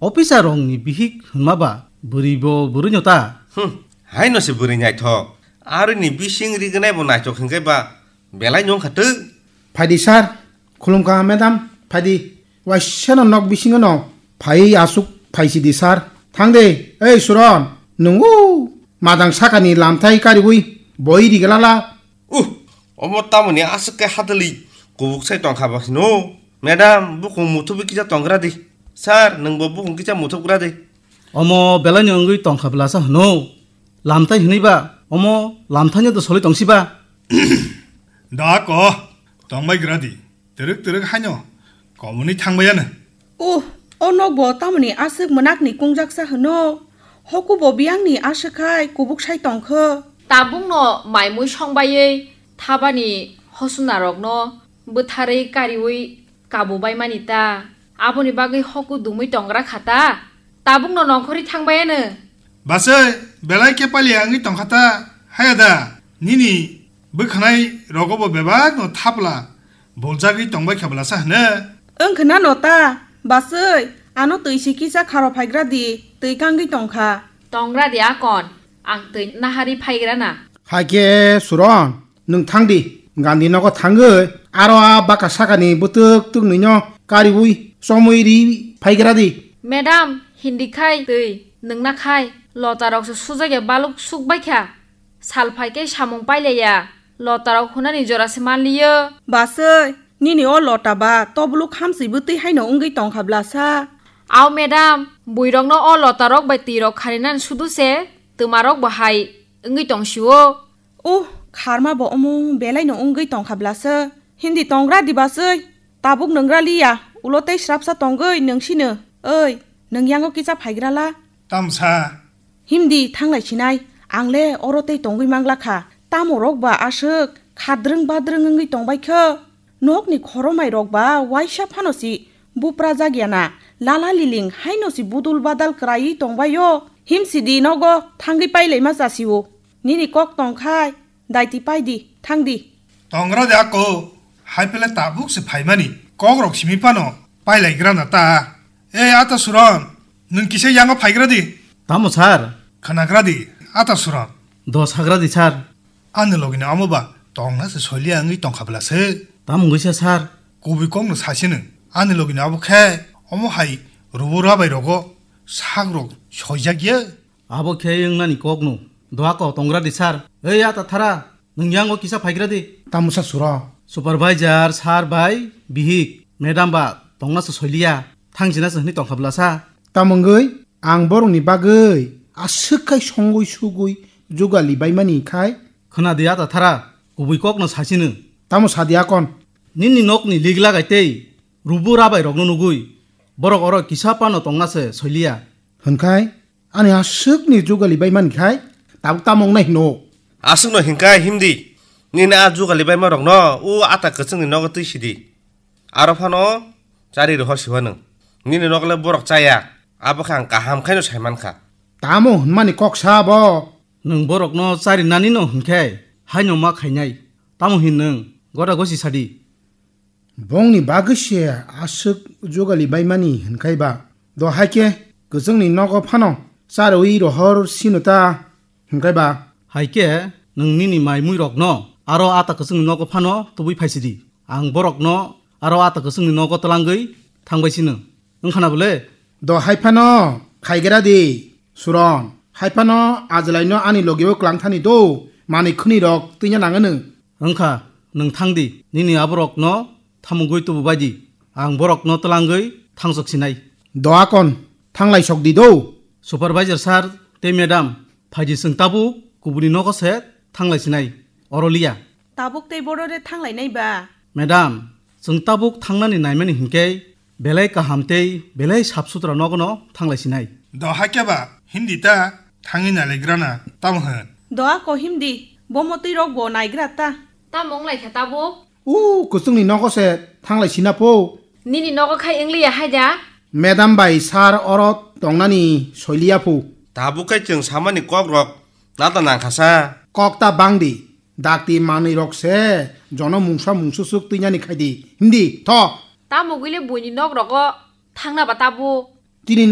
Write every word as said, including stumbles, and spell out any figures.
Officer rokni bihik hwnma ba bwrwi bo bwrwino ta. Hmm, haino se bwrwi naithok. Aroni bising rignai bo naithok hwnkhe ba belai no wngkha twk. Phaidi sir, khulumkha madam, phaidi. Waisano nok bisingo no phai aswk phaisidi sir. Thangde, ei Suron, nungo madang sakani lamthai kariwi boi riglala. Uh, omo tamoni aswk khe hadali kubuk sai tongkha ba hino. Madam, bukung muthubi kisa tongra di. Sir, nwngbo bukung kisa muthugra di. Omo belaino wngwi tongkha belasa hino. Lamthai hinwi ba, omo lamthaino do soli tongsi ba. Da ko, tongbai gra di. Twrwk twrwk haino komoni thangbaiano. Uh, o nokbo tamoni aswk mwnakni kungjaksa hwno? Hokubo biyangni aswk khai kubuk sai tongkho. Tabukno maimui songbaiwi thabani hosunarokno bwtharwi kariwi kabubaimani ta. Aboni bagwi hoku dumwi tongra kha ta. Tabukno nongkhorwi thangbaiano. Basai, belai khe paliya wngwi tongkha ta. Haya da, nini bwkhanai rogobo bebakno thapla. Boljagwi tongbai kha belasa hwno. Wngkha na no ta, basai, ano twi si kisa kharo phaigra di, twi kangwi tongkha. Tongra di akon, ang twi nahari phaigra na. Hakhe Suron, nwng thang di, Gandhi nogo thangwi, aro a baka sakani bwtwk twknwino kariwi chomwi ri phaigra di. Madam, hindi khai twi, nwngna khai, lotarokse sujak ya baluk suk bai kha. Sal phai khe samung pailaiya, lotarok hunani jora se manliyo. Basai, nini o lota ba tobuluk hamswi bwtwi haino wngwi tongkha blasa. Au madam, buirokno o lotarok bai twirok kharinani sudu se twmarok bo hai wngwi tongsio. Uh, kharma bo omo belaino wngwi tongkha blasa. Hindi tongra di basai, tabuk nwngra liya, ulo tei srapsa tongwi nungsino. Oi, nwng yango kisa phaigrala. Tamsa. Himdi thanglai sinai, ang le oro tei tongwi mangla kha. Tamo rok ba aswk khadrwng badrwng wngwi tongbai kho. Nokni khoromai rok ba waisa phano si bupra jak ya na. Lala liling haino si budul badal kwraiwi tongbai o. Himsidi nogo thangwi pailaima chasio. Nini kok tong khai, daiti pai di, thang di. Tongra de ako, hai pele tabuk se phaimani. Kok rok simi phano pailai gra na ta. Ei, ata Suron, nwng kisa yango phaigra di. Tamo sir? Khwnagra di, ata Suron. Do sagra di sir. Ani logini amo ba tongna se soiliya wngwi tongkha bla se. Tamo wngwi sa sir? Kubui kokno sasino. Ani logini abo khe omo hai rubu rabai rogo sak rok soijak ya. Abo khe wngnani kokno. Doa ko tongra di sir. Ei, ata thara. Nwng yango kisa phaigra di. Tamo sa Suro? Supervisor sir bai bihik madam ba tongna se soiliya, thangsina se hwnwi tongkha bla sa. Tamo wngwi ang borokni bagwi aswk khai songwi sugwi jugali baimani khai? Khwna di ata thara, kubui kokno sasino. Tamo sa di akon? Nini nokni lig lagai tei rubu rabai rokno nugwi borok oro kisa phano tongna se soiliya. Hwnkhai? Ani aswkni jugali bai mankhe hai, tabuk tamo wngnai hino? Aswkno hinkhai himdi, nini a jugali baima rokno o ata kwchwngni nogo twi sidi. Aro phano chari rohor siwa nwng. Nini nogo le borok chaya, abo khe ang kaham khaino sai mankha. Tamo hwnmani kok sa bo? Nwng borokno chari nanino hwnkhe haino ma khainai. Tamo hin nwng? Gota gosi sadi. Bongni bagwi se aswk jugali baimani hwnkhai ba? Do hai khe kwchwngni nogo phano charwi rohor sino ta hwnkhai ba? Hai khe nwng nini mai mui rokno aro ata kwchwngni nogo phano tubui phaisidi. Ang borokno aro ata kwchwngni nogo twlangwi thangbai sino. Wngkhana bole? Do hai phano khaigra di, Suron. Hai phano ajlaino ani logio kwlangthani do, manwi khwnwi rok twina nangano. Wngkha, nwng thang di, nini aborokno thamungwi tubu bai di. Ang borokno twlangwi thangsok sinai. Doakon, thanglai sok di do. Supervisor sir tei madam, phai di chwng tabuk kubuni nogo se thanglai sinai. Oro liya. Tabuk tei borore thanglai nai ba? Madam, chwng tabuk thangnani naimani hinkhe belai kaham tei belai sap sutra nogono thanglai sinai. Do hakhe ba, himdi ta, thangwi nailagrana, tamo hwn? Doa ko himdi, bo motwi rok bo naigra ta. Tamo wnglaikha tabuk? U, kwchwngni nogo se thanglai sina pho. Nini nogo khai wngliya hai da? Madam bai sir oro tongnani soiliya pho. Tabuk khai chwng samani kok rok nata nangkha sa. Kok ta bang di. Dakti manwi rok se jono mungsa mungsusuk twinani khai di. Himdi, tho. Tamo gwile buini nok rogo thangna ba tabuk. Chini